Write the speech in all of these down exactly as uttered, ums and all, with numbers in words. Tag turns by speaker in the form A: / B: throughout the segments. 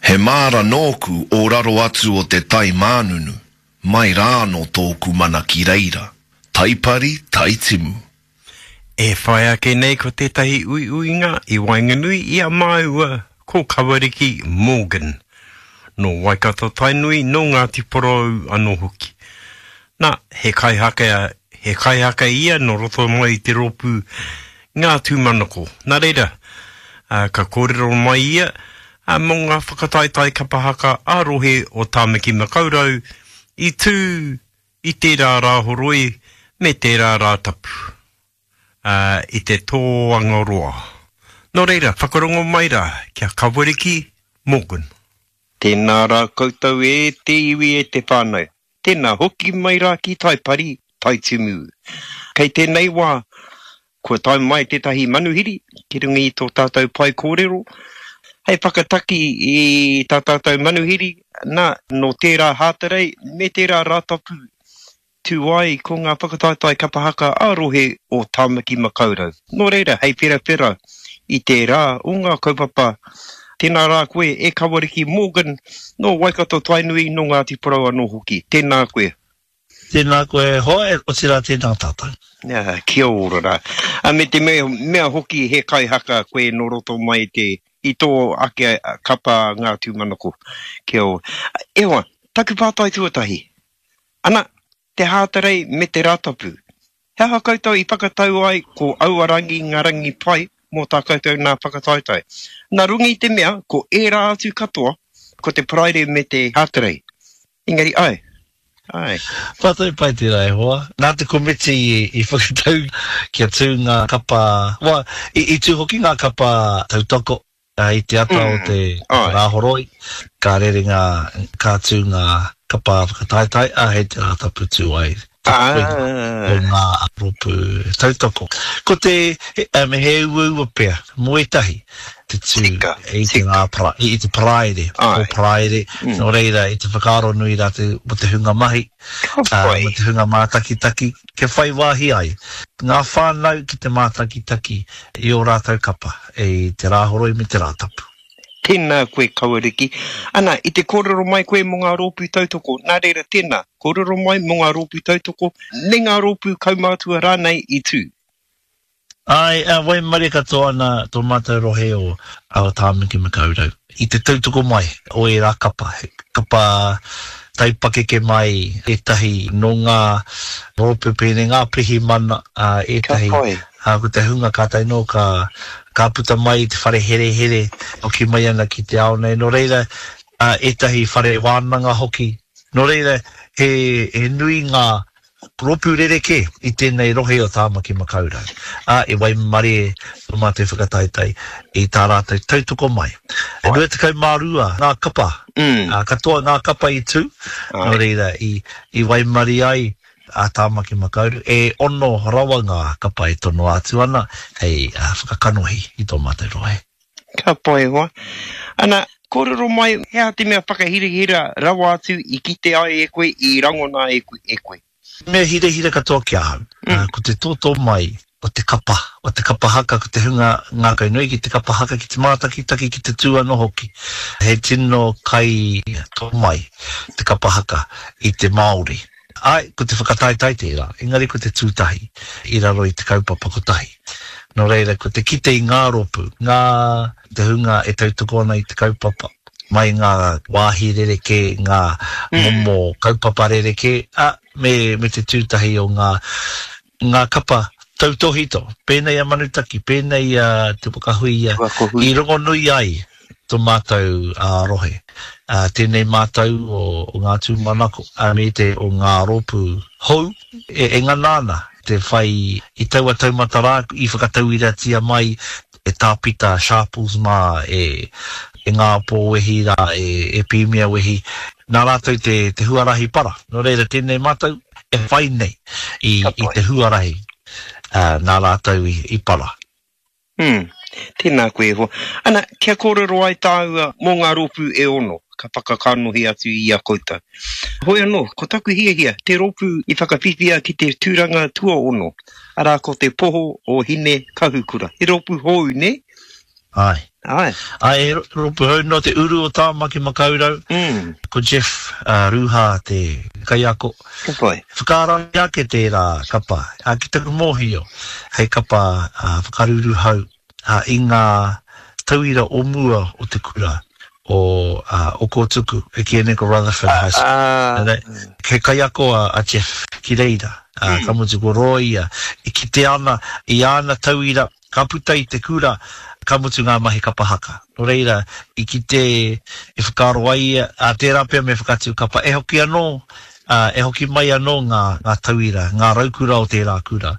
A: He māra nōku o raro atu o te tai mānunu, mai rānō tōku mana ki reira, Taipari, Taitimu.
B: E whai ake nei ko tētahi uiuinga i waenganui i a māua ko Kawariki Morgan, nō Waikato Tainui, nō Ngāti Porou anō hoki. Nā, he kaihaka, he kaihaka ia nō roto mai i te rōpū Ngā Tūmanako. Nā reira, ka kōrero mai ia mō ngā whakataetae kapa haka ā-rohe o Tāmaki Makaurau i tū i tērā Rāhoroi me tērā Rātapu, i te Tōangaroa. Nō reira, whakarongo mai rā ki a Kawariki Morgan.
C: Tēnā rā koutou e te iwi e te whānau. Tēnā hoki mai rā ki Taipari, Taitimu. Kei tēnei wā, kua tae mai tētahi manuhiri ki runga i tō tātou pae kōrero, hei whakataki i tā tātou manuhiri, nā, nō tērā Hātarei me tērā Rātapu tū ai ko ngā whakataetae kapa haka ā-rohe o Tāmaki Makaurau. Nō reira, hei wherawhera i tērā o ngā kaupapa, tēnā rā koe e Kawariki Morgan, nō Waikato Tainui, nō Ngāti Porou anō hoki. Tēnā koe.
D: Tēnā koe e hoa, otirā tēnā tātou.
C: Kia ora rā. Me te mea hoki he kaihaka koe nō roto mai te, i tō ake kapa Ngā Tūmanako. Kia ora. E hoa, taku pātai tuatahi. Ana, te Hātarei me te Rātapu. He aha koutou i whakatau ai ko aua rangi ngā rangi pai mō tā koutou nā whakataetae? Nā runga i te mea ko ērā atu katoa ko te Paraire me te Hātarei. Engari, āe, āe.
D: Pātai pai tērā e hoa. Nā te komiti i whakatau kia tū ngā kapa, well, i tū hoki ngā kapa tautoko I te ata o te Rāhoroi, ka rere ngā, ka tū ngā kapa whakataetae, ā, hei te Rātapu tū ai te toenga o ngā rōpū tautoko. Ko te, he uaua pea mō ētahi te tū i te rā, i te Paraire, o Paraire, nō reira i te whakaaro nui rātou mō te hunga mahi, mō te hunga mātakitaki, kia whai wāhi ai ngā whānau ki te mātakitaki i ō rātou kapa i te Rāhoroi me te Rātapu.
C: Tēnā koe Kawariki. Ana, i te kōrero mai koe mō ngā rōpū tautoko, nā reira tēnā, kōrero mai mō ngā rōpū tautoko me ngā rōpū kaumātua rānei i tū.
D: Āe, ā, waimarie katoa ana tō mātou rohe o Tāmaki Makaurau i te tautoko mai o ērā kapa, he kapa taipakeke mai ētahi nō ngā rōpū pēnei, ngā pirihimana, ā, ētahi, ā, ko te hunga kātahi nō ka, ka puta mai i te whare herehere, hoki mai ana ki te ao nei, nō reira, ā, ētahi whare wānanga hoki. Nō reira, he, he nui ngā Rōpū rerekē i tēnei rohe o Tāmaki Makaurau, ā, i waimarie tō mātou whakataetae i tā rātou tautoko mai. E rua tekau mā rua ngā kapa, ā, katoa ngā kapa i tū, nō reira, i, i waimarie ai a Tāmaki Makaurau, e ono rawa ngā kapa e tonoa atu ana hei whakakanohi i tō mātou rohe.
C: Ka pai e hoa. Ana, kōrero mai, he aha te mea whakahirahira rawa atu i kite ai e koe, i rangona ai e koe?
D: Mea hirahira katoa ki ahau, ko te tōtō mai o te kapa, o te kapa haka, ko te hunga ngākau nui ki te kapa haka, ki te mātakitaki, ki te tū anō hoki. He tino kai tō mai te kapa haka i te Māori. Āe, ko te whakataetae tērā, engari ko te tū tahi i raro i te kaupapa kotahi. Nō reira, ko te kite i ngā rōpū, ngā, te hunga e tautoko ana i te kaupapa, mai ngā wāhi rerekē, ngā momo kaupapa rerekē, ā, me, me te tū tahi o ngā, ngā kapa tautōhito, pēnei a Manutaki, pēnei a Te Waka Huia, i rongonui ai tō mātou rohe. Tēnei mātou o ngā tūmanako me te o ngā rōpū hou e ngana ana te whai i taua taumata rā i whakatauiratia mai e Tā Pita Sharples mā, e Ngāpō Wehi rā, e Pīmia Wehi, nā rātou te huarahi para. Nō reira tēnei mātou e whai nei i te huarahi nā rātou i para.
C: Umm, tēnā koe e hoa. Ana, kia kōrero ai tāua mō ngā rōpū e ono ka whakakanohi atu i a koutou. Hoi anō, ko taku hiahia, te rōpū i whakawhiwhia ki te tūranga tuaono, arā ko Te Poho o Hine Kahukura. He rōpū hou, nē?
D: Āe.
C: Ai.
D: Ai, he rōpū hou nō te uru o Tāmaki Makaurau.
C: Mm.
D: Ko Jeff uh, Ruha te kaiako.
C: Ka pai.
D: Whakaara ake tērā kapa, a, ki taku mōhio, hei kapa uh, whakaruruhau uh, i ngā tauira o mua o te kura o, uh, o Kōtuku, e kīia nei ko Rutherford High School.
C: Ah,
D: He kaiako a, a Jeff ki reira, uh,
C: Mm.
D: ka mutu ko Roia, e kite ana i āna tauira, ka puta i te kura, ka mutu ngā mahi kapa haka. Nō reira, i kite e whakaaro ai ia, a tērā pea me whakatū kapa, e hoki anō, uh, e hoki mai anō ngā, ngā tauira, ngā raukura o tērā kura.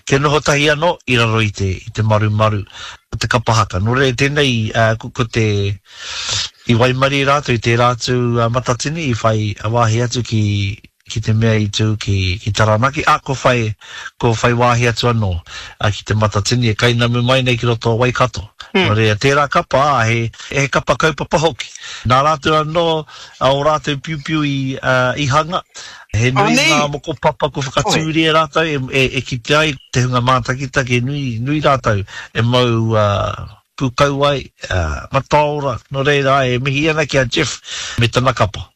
D: Kia noho tahi anō i raro i te, i te marumaru o te kapa haka. Nō reira, tēnei, uh, ko, ko te, i waimarie rātou i tērā atu uh, Matatini, i whai wāhi atu ki, ki te mea i tū ki, ki Taranaki, a ko whai, ko whai wāhi atu anō a, ki te Matatini e kainamu mai nei ki roto o Waikato.
C: Mm.
D: Nō reira, tērā kapa, a, he, he kapa kaupapa hoki. Nā rātou anō, a o rātou piupiu i, uh, i hanga, he nui
C: nei.
D: ngā mokopapa ko whakatūria rātou e, e, e kite ai te hunga mātakitaki, nui, nui rātou e mau uh, pūkauai, uh, mataora, nō reira, e mihi ana ki a Jeff me tana kapa.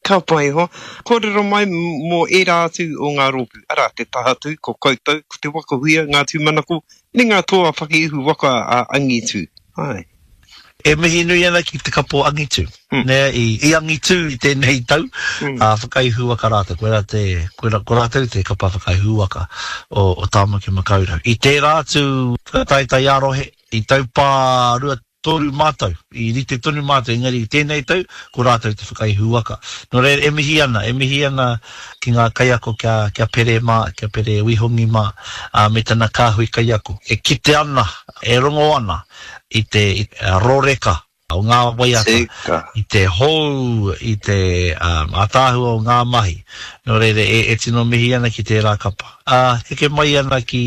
C: Ka pai hoa. Kōrero mai mō ērā atu o ngā rōpū. Arā, te Tahatū, ko koutou, ko te Waka Huia, ngā tūmanako, me ngā toa whakaihu waka a Angitu. Ai.
D: E mihi nui ana ki te kapo Angitu.
C: Mm.
D: Nē, i, i Angitu i tēnei tau,
C: Mm.
D: a whakaihu waka rātou. Koe rā te, koe rā, ko rātou te kapa whakaihu waka o, o Tāmaki Makaurau. I tērā atu whakataetae ā-rohe, i taupā rua toru mātou, i rite tonu mātou, engari i tēnei tau, ko rātou te whakaihu waka. Nō reira, e mihi ana, e mihi ana ki ngā kaiako kia, kia pere mā, kia pere wihongi mā, ā, me tana kāhui kaiako. E kite ana, e rongo ana i te i, a, roreka o ngā waiata,
C: Tika.
D: i te hou, i te um, ātaahua o ngā mahi. Nō reira, e, e tino mihi ana ki tērā kapa. Ā, heke mai ana ki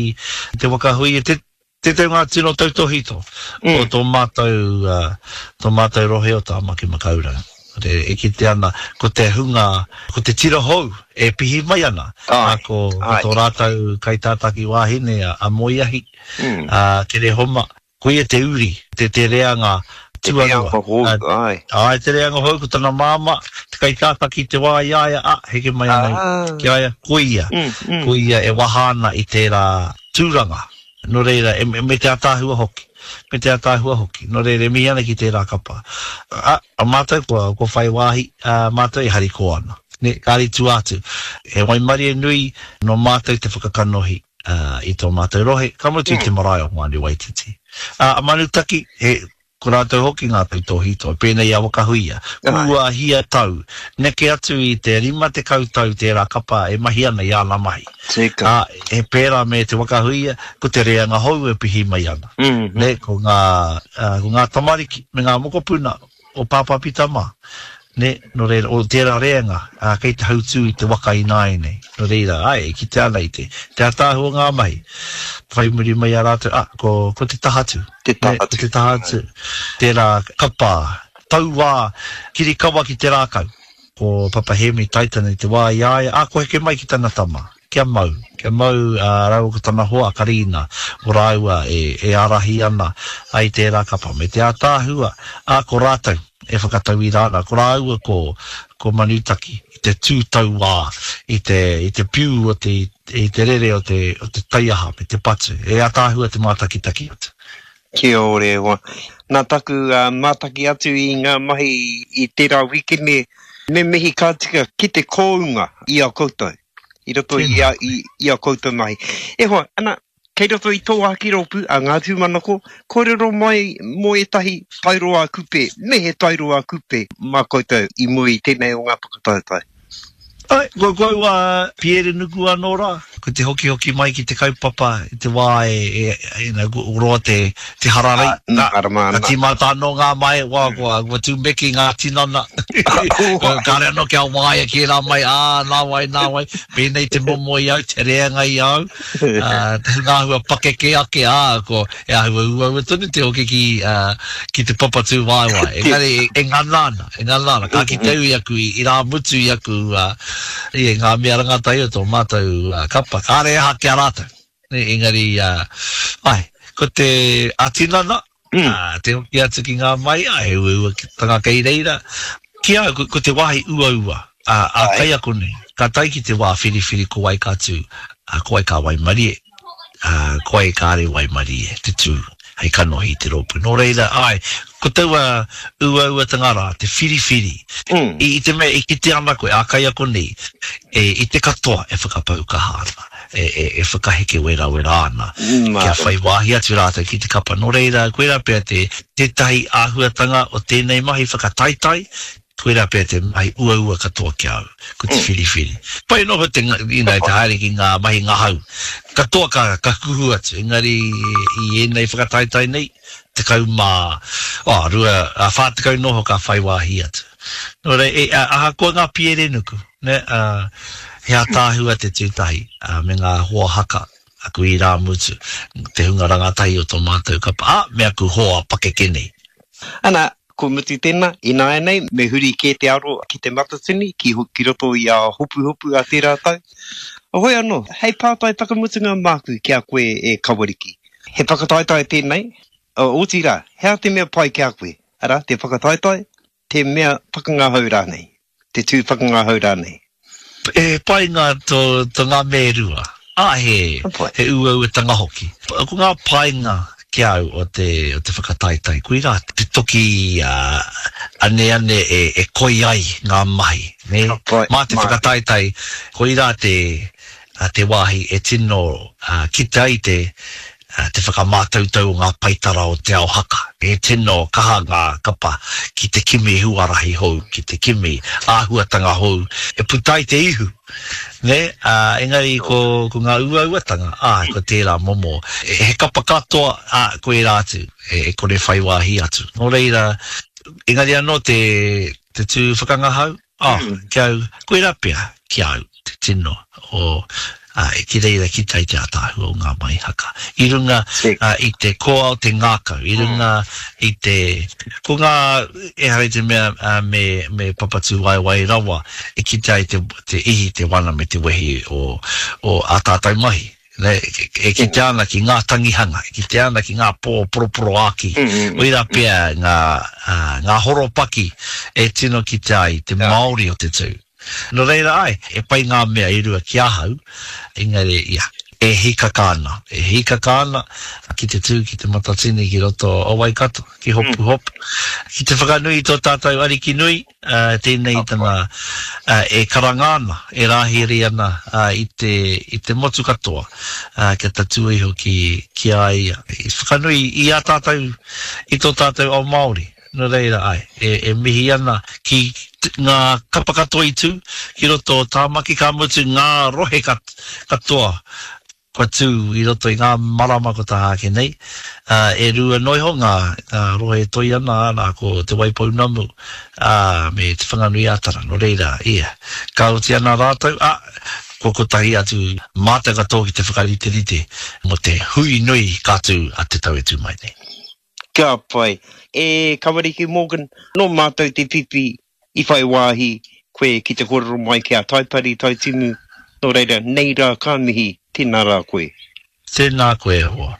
D: te Waka Huia, te, tētahi o ngā tino tautōhito
C: Mm.
D: o tō mātou, uh, tō mātou rohe o Tāmaki Makaurau. Re, e kite ana, ko te hunga, ko te tira hou e pihi mai ana.
C: Ai,
D: Ā, ko, ko
C: ai.
D: tō rātou kaitātaki wāhine a, a Moiahi,
C: Mm.
D: a Kerehoma. Ko ia te uri, te, te reanga
C: Te
D: tuarua.
C: reanga hou,
D: Ā,
C: ai.
D: Ai, te reanga hou, ko tana māmā, te kaitātaki te wā i a ia, a, heke mai ana
C: Ah.
D: ki a ia, ko ia.
C: Mm, mm.
D: Ko ia e waha ana i tērā tūranga. Nō reira, e, me te ātaahua hoki. Me te ātaahua hoki. Nō reira, e mihi ana ki tērā kapa. A, a mātou, kua, kua whai wāhi, a, mātou e harikoa ana. Ne, kāre tua atu. He waimarie nui nō mātou te whakakanohi uh, i tō mātou rohe, ka mutu i te marae o Hoani Waititi. Uh, a Manutaki, he, ko rātou hoki ngā tautōhito, pēnei a Waka Huia.
C: Ai.
D: Kua hia tau, neke atu i te rima tekau tau tērā kapa e mahi ana i āna mahi.
C: Tika.
D: Ā, he pērā me te Waka Huia, ko te reanga hou e pihi mai ana.
C: Mm.
D: Ne, ko ngā, uh, ko ngā tamariki me ngā mokopuna o Pāpā Pita mā. Ne, nō reira, o tērā reanga, uh, kei te hautū i te waka ināianei. Nō reira, ai, e kite ana i te, te ātaahua o ngā mahi. Whai muri mai a rātou, ah, ko, ko te Tahatū.
C: Te
D: Ne, ko
C: Tahatū.
D: te Tahatū. Tērā kapa, tauā, kirikawa ki te rākau. Ko Papa Hemi Taitana i te wā i a ia, ah, ko heke mai ki tana tama. Kia mau, kia mau uh, rāua ko tana hoa Karina, o rāua e, e ārahi ana ai tērā kapa. Me te ātaahua, a ko rātou e whakatauira ana, ko rāua ko, ko Manutaki, i te tūtauā, i te, i te piu o te, i te rere o te, o te taiaha me te patu. E ātaahua te mātakitaki atu.
C: Kia ora e hoa. Nā taku uh, mātaki atu i ngā mahi i tērā wikene, me mihi ka tika ki te kōunga i a koutou. I roto i a, i, i a koutou mahi. E hoa, ana, kei roto i tō ake rōpū a Ngā Tūmanako, kōrero mai mō ētahi tairo ā-kupe, me he tairo ā-kupe mā koutou i mua i tēnei o ngā whakataetae.
D: Ai, ko kau a Pierre Nuku anō rā. Ko te hoki hoki mai ki te kaupapa i te wā e, e, e, na, roa te, te hararei.
C: Ah, nā, arama
D: Ka
C: ana.
D: tīmata anō ngā mai, wā, kua, kua tūmeki ngā tinana. Kāre anō kia waia ki rā mai, ā, nā wai, nā wai. Pēnei te momo i au, te reanga i au. Uh, te ngā hua pakeke ake, ā, ko e āhua uaua tonu te hoki ki, uh, ki te papatū waewae. Engari, e, e ngana ana, e ngana ana. Ka ki te ui aku, i, i rā mutu i aku, uh, i ngā mea rangatai o tō mātou uh, kapa. Kāre aha ki a rātou. Engari, uh, ai, ko te atinana, Mm. Ā, te hoki atu ki ngā mai, ā, he uauatanga kei reira. Ki a au, ko, ko te wāhi uaua, ā, ā kaiako nei, ka tae ki te wā whiriwhiri ko wai ka tū, ā, ko wai ka waimarie, ā, ko wai kāre waimarie te tū hei kanohi i te rōpū. Nō reira, āe, ko taua uauatanga rā, te whiriwhiri, mm. i, i te mea e kite ana koe, ā kaiako nei, e, i te katoa e whakapau kaha ana. e, e, e whakaheke werawera ana, kia whai wāhi atu rātou ki te kapa. Nō reira, koirā pea te, tētahi āhuatanga o tēnei mahi whakataetae, koirā pea te mahi uaua katoa ki a au, ko te whiriwhiri. Pai anō te, you know, te haere ki ngā mahi ngahau, katoa ka, ka kuhu atu, engari i ēnei whakataetae nei, tekau mā, oh, rua, ā, whā tekau noho ka whai wāhi atu. Nō reira, e, ahakoa ngā piere nuku, nē, ā, He ataahua te tū tahi me ngā hoa haka, aku irāmutu, te hunga rangatahi o tō mātou kapa, ā, me aku hoa pakeke nei.
C: Ana, kua mutu tēnā, ināianei me huri kē te aro ki Te Matatini, ki, ki roto i a Hopuhopu a tērā tau. Hoi anō, hei pātai whakamutunga māku ki a koe e Kawariki. He whakataetae tēnei, otirā, he aha te mea pai ki a koe? Arā, te whakataetae, te mea whakangahau rānei, te tū whakangahau rānei.
D: He painga tō, tō ngā mea e rua, ā, he, he uauatanga hoki. Ko ngā painga ki a au o te, o te whakataetae, koirā te toki aneane e, e koi ai ngā mahi, nē? Mā te whakataetae, koirā te, te wāhi e tino kite ai te, te whakamātautau o ngā paetara o Te Ao Haka. He tino kaha ngā kapa ki te kimi huarahi hou, ki te kimi āhuatanga hou e puta ai te ihu, nē? Ā, engari ko, ko ngā uauatanga, āe, ko tērā momo, he kapa katoa, ā, ko ērā atu, e kore whai wāhi atu. Nō reira, engari anō te, te tū whakangahau, Oh, ki au, koirā pea, ki au, te tino o, ā, ki reira kite ai te ātaahua o ngā mahi haka. I runga i te koa o te ngākau, i runga i te, ko ngā, ehara i te mea me, me papatūwaewae rawa e kite ai te, te ihi, te wana me te wehi o, o ā tātou mahi. E kitea ana ki ngā tangihanga, e kitea ana ki ngā pō poroporoāki, koirā pea ngā, ngā horopaki e tino kitea ai te Māori o te tū. Nō reira, āe, he pai ngā mea e rua ki ahau, engari, ia, e hīkaka ana, e hīkaka ana ki te tū ki Te Matatini ki roto o Waikato, ki Hopuhopu, ki te whakanui i tō tātou Ariki nui, Tēnei tana e karanga ana, e rāhiri ana i te, i te motu katoa kia tatū iho ki, ki a ia. I whakanui i a tātou, i tō tātou ao Māori. Nō reira, āe, e, e mihi ana ki ngā kapa katoa i tū ki roto o Tāmaki, ka mutu ngā rohe katoa Kua tū i roto i ngā marama ko taha ake nei, ā, e rua noa iho ngā, ngā rohe e toi ana, arā, ko Te Waipounamu, ā, me Te Whanganui-ā-Tara. Nō reira, ia, ka oti ana rātou, ā, kua kotahi atu mātou katoa ki te whakariterite mō te hui nui ka tū a te tau e tū mai nei.
C: Ka pai. E Kawariki Morgan, nō mātou te whiwhi i whai wāhi koe ki te kōrero mai ki a Taipari, Taitimu, nō reira, nei rā ka mihi, tēnā rā koe.
D: Tēnā koe e hoa.